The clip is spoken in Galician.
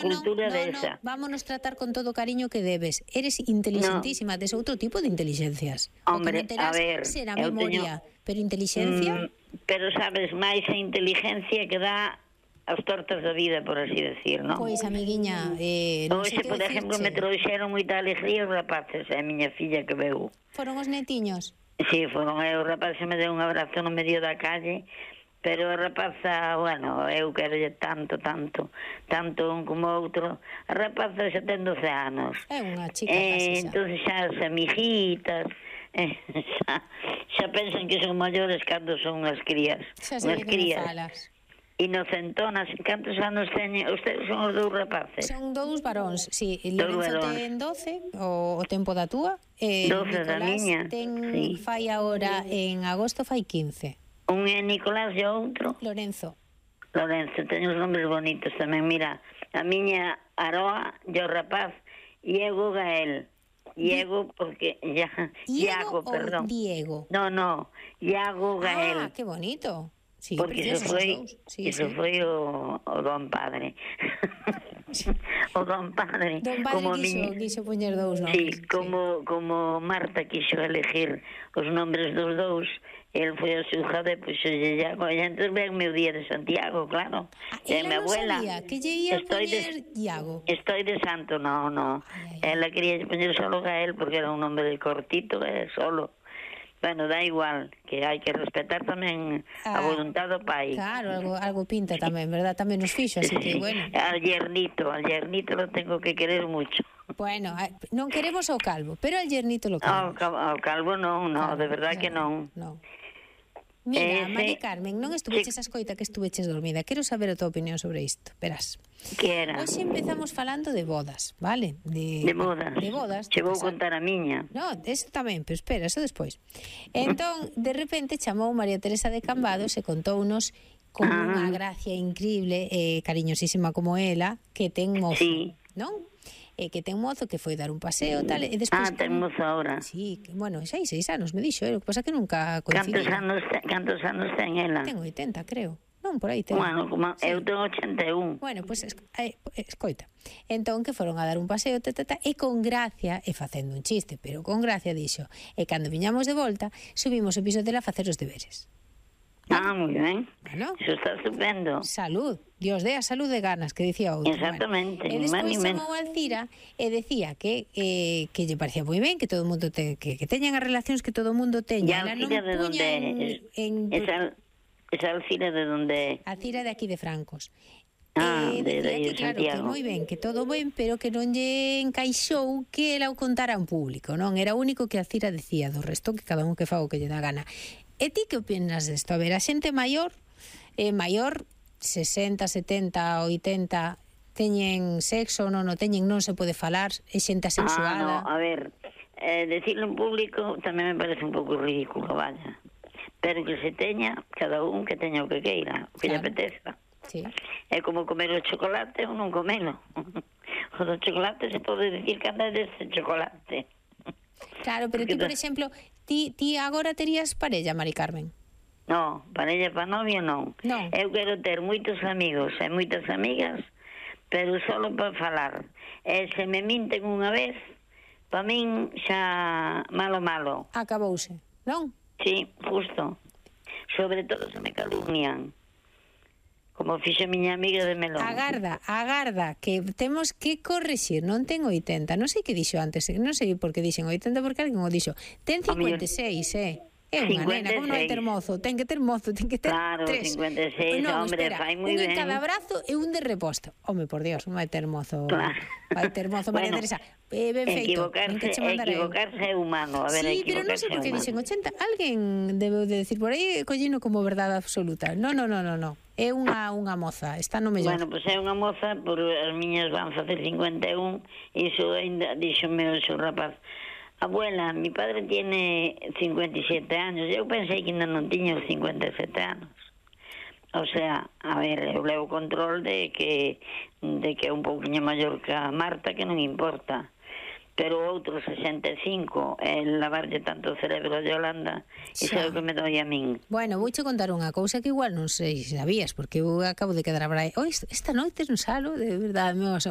cultura desa. Vámonos tratar con todo o cariño que debes. Eres inteligentísima, tes outro tipo de inteligencias. Hombre, o que non terás a ver, será memoria, pero inteligencia... Pero sabes, máis a inteligencia que dá as tortas da vida, por así decir, non? Pois, amiguiña, non sei Hoxe, que por exemplo, me trouxeron moita alegría os rapaces, a miña filla que veu. Foron os netiños? Sí, foron os rapaces, me deu un abrazo no medio da calle, pero a rapaza, bueno, eu quero tanto un como outro. A rapaza xa ten 12 anos. É unha chica casi xa. Entón xa as amiguitas, xa pensan que son maiores cando son unhas crías. Xa sei que me falas. Inocentonas. Cantos anos teñen? Ustedes son os dous rapaces? Son dous varóns, sí. Lorenzo ten 12, o tempo da túa. 12 da miña. Ten, fai agora, en agosto fai 15. Un é Nicolás e outro? Lorenzo, teño os nombres bonitos tamén. Mira, a miña Aroa e o rapaz Diego Gael. Diego, porque Iago, perdón. Diego? No, Iago Gael. Ah, que bonito. Sí, porque iso foi o don padre. O don padre. Don padre quixo poñer dous nomes. Sí, como Marta quixo elegir os nombres dos dous, el foi a su hija de Iago, e entón venme o día de Santiago, claro. Ela non sabía que lle ia poñer Iago. Estoy de santo, no. Ela quería poñer solo Gael porque era un nombre cortito, solo. Bueno, dá igual, que hai que respetar tamén a voluntad do pai. Claro, algo pinta tamén, verdad? Tamén nos fixo, así que, bueno. Al yernito lo tengo que querer mucho. Bueno, non queremos ao calvo, pero al yernito lo queremos. Ao calvo non, de verdad que non. Mira, Mari Carmen, non estuveches a escoita que estuveches dormida. Quero saber a tua opinión sobre isto. Verás. Que era? Hoxe empezamos falando de bodas, vale? De bodas. De bodas. Che vou contar a miña. No, eso tamén, pero espera, eso despois. Entón, de repente, chamou María Teresa de Cambados e contou-nos con unha gracia increíble, cariñosísima como ela, que ten mozo, non? Que ten mozo, que foi dar un paseo, tal, e despois... ten mozo agora. Sí, bueno, xa hai 6 anos, me dixo, o que pasa que nunca coincidí. Cantos anos ten ela? Ten 80, creo. Non, por aí ten. Bueno, como eu tengo 81. Bueno, pois, escoita. Entón, que foron a dar un paseo, e con gracia, e facendo un chiste, pero con gracia, dixo, e cando viñamos de volta, subimos o piso dela a facer os deberes. Moi ben. Bueno, iso está estupendo. Salud, Dios dé a salud de ganas, que dicía outro. Exactamente. E despois chamou a Alcira e decía que lle parecía moi ben que todo o mundo que teñan as relacións que todo o mundo teña. E a Alcira de onde esa Alcira de onde? Alcira de aquí de Francos. Decía que claro, que moi ben, que todo ben, pero que non lle encaixou que ela o contara en público, non? Era o único que Alcira decía, do resto que cada un que faga o que lle dá gana. E ti que opinas desto? A ver, a xente maior, 60, 70, 80, teñen sexo, non se pode falar, é xente asexuada. A ver, decirlo en público tamén me parece un pouco ridículo, vaya. Pero que se teña, cada un que teña o que queira, o que lle apeteza. Sí. É como comer o chocolate ou non comelo. O do chocolate se pode decir que anda deste chocolate. Claro, pero ti, por exemplo, ti agora terías parella, Mari Carmen? No, parella para novio non. Eu quero ter moitos amigos e moitas amigas, pero solo para falar. E se me minten unha vez, para min xa malo. Acabouse, non? Sí, justo. Sobre todo se me calumnian. Como fixe a miña amiga de Melón. Agarda, que temos que corrixir. Non ten 80, non sei que dixo antes, non sei por que dixen 80, porque alguén o dixo. Ten 56, É unha nena, como non vai ter mozo? Ten que ter mozo, ten que ter claro, 3. 56, no, hombre, fai moi ben. Un en cada brazo e un de reposto. Home, por Dios, non vai ter mozo. Claro. Vai ter mozo, María Teresa. Ben feito. Equivocarse é humano. A ver, sí, pero non sei por que dixen 80. Alguén debeu de decir por aí, collino como verdade absoluta. No. É unha moza, está no mellor. Bueno, pois é unha moza, por as miñas van facer 51, e iso ainda díxome o seu rapaz. Abuela, mi padre tiene 57 años. Eu pensei que ainda non tiña os 57 anos. O sea, a ver, eu levo control de que é un pouquinho maior que a Marta, que non importa. pero outro 65, lavarlle tanto o cerebro a Yolanda, iso é o que me doi a min. Bueno, vouche contar unha cousa que igual non sei se sabías, porque eu acabo de quedar a Esta noite non salo, de verdade, meu asombro.